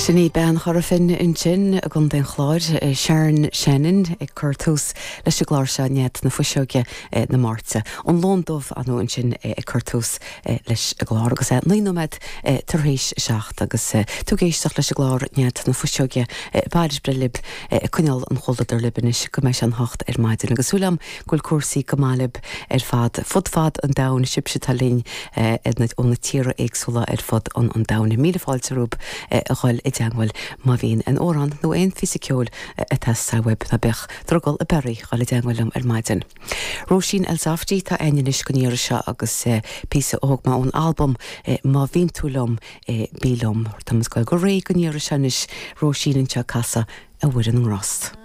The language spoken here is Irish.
Sin í bean Chora Finne ansin i gContae an Chláir, Sharon Shannon, ag cur tús leis an gclár seo, Nead na Fuiseoige na Máirte. An Lon Dubh ar ndóigh ansin ag cur tús leis an gclár agus é 9 nóiméad tar éis a 7 agus tú ag éisteacht leis an gclár Nead na Fuiseoige Bail is breith libh ag coinneáil an chomhluadair libh anois go mbeidh sé an 8 ar maidin agus súil agam go bhfuil cúrsaí go maith libh ar fad fud fad an domhain, sibhse atá linn ó na tíortha éagsúla ar fud an domhain. Míle fáilte romhaibh a dhul i dteangmháil má bhíonn aon amhrán nó aon phíosa ceoil ag teastáil uaibh, ná bíodh drogall ar bith oraibh dhul i dteangmháil liom ar maidin. Róisín Elsafty atá againn anois don iarraidh seo agus píosa a thóg mé ón albam Má Bhíonn Tú Liom, Bí Liom. Táimid ag dul go réidh don iarraidh seo anois, Róisín anseo ag casadh A Mhuire na nGrást.